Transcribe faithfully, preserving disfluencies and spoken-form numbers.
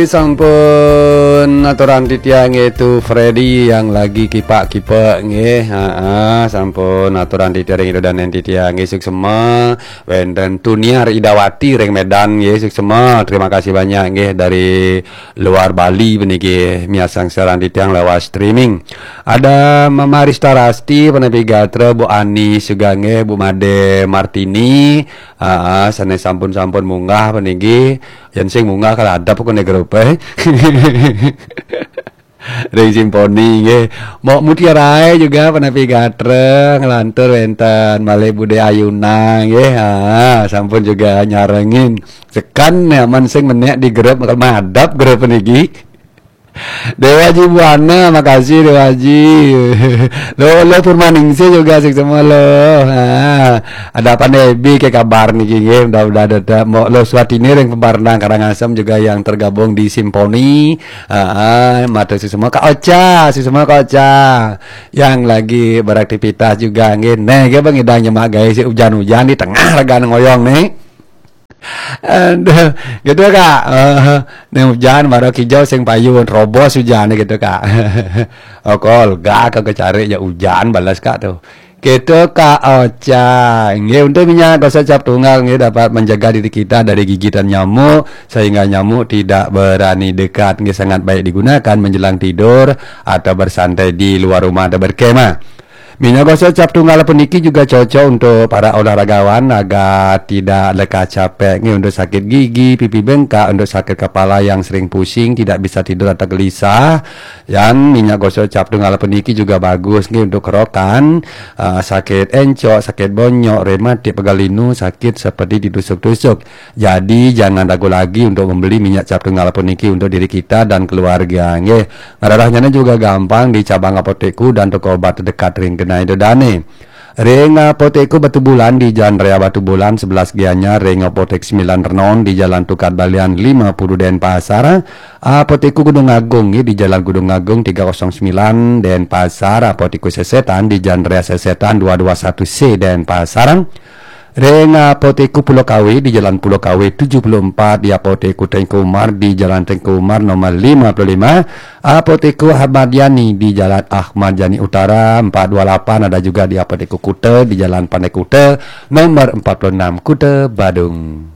Sampun aturan titiang nggih, Tu Freddy yang lagi kipak-kipek nggih. Heeh, sampun aturan titiang ring Ida Dané titiang nggih, suksema. Wénten Tuniar Idawati ring Medan nggih, suksema. Terima kasih banyak nggih dari luar Bali puniki miarsang siaran titiang lewat streaming. Ada Mama Rista Rasti, Panepi Gatra, Bu Ani Sugange, Bu Made Martini, aa, sané sampun-sampun munggah puniki, yén sing munggah kaladep kene grup, eh. Ring Simponi nggih. Mok Mutiarae juga Panepi Gatra, nglantur wénten malih Bude Ayuna nggih. Aa, sampun juga nyarengin. Tekan nyaman sing menék di grup, bakal madep grup puniki. Dewa Haji Buana, makasih Dewa Haji. Lo, lo Purmaningsih juga, suksema lo. Ha, ada Panebi ke kabar niki nggih, mudah-mudahan ada. Mo, lo Swatini ring Pembarna Karangasem juga yang tergabung di Simponi. Ha, matur suksema Kak Ocha, suksema Kak Ocha. Yang lagi beraktivitas juga nggih. Neh, nggih Bang Idang nyemak gaé si ujan-ujan di tengah ragan ngoyong nih. Aduh, gitu Kak. Eh, nih hujan baru kijau sing payun, robos hujan gitu Kak. Oh, kolga ke kecari ya hujan balas Kak tuh. Gitu Kak Ocha. Nggih, untuk minyak gosok cap tunggal nggih dapat menjaga diri kita dari gigitan nyamuk sehingga nyamuk tidak berani dekat. Nggih, sangat baik digunakan menjelang tidur atau bersantai di luar rumah atau berkemah. Minyak gosok cap tunggal puniki juga cocok untuk para olahragawan agar tidak lekas capek, nggih, untuk sakit gigi, pipi bengkak, untuk sakit kepala yang sering pusing, tidak bisa tidur atau gelisah. Dan minyak gosok cap tunggal puniki juga bagus, nggih, untuk kerokan, ah, sakit encok, sakit bonyok, rematik, pegal linu, sakit seperti ditusuk-tusuk. Jadi, jangan ragu lagi untuk membeli minyak cap tunggal puniki untuk diri kita dan keluarga, nggih. Ngrerahnyané juga gampang di cabang apotekku dan toko obat terdekat ring genah Ida Dané. Ring apotekku Batubulan di Jalan Raya Batubulan sebelas Gianyar, ring apotek Sembilan Renon di Jalan Tukad Balian lima puluh Denpasar, apotekku Gunung Agung nggih di Jalan Gunung Agung tiga kosong sembilan Denpasar, apotekku Sesetan di Jalan Raya Sesetan dua dua satu C Denpasar. Ring apotekku Pulau Kawe di Jalan Pulau Kawe tujuh puluh empat, di apotekku Tengku Umar di Jalan Tengku Umar nomor lima puluh lima, apotekku Ahmad Yani di Jalan Ahmad Yani Utara empat dua lapan, ada juga di apotekku Kuta di Jalan Pandai Kuta nomor empat puluh enam, Kuta Badung.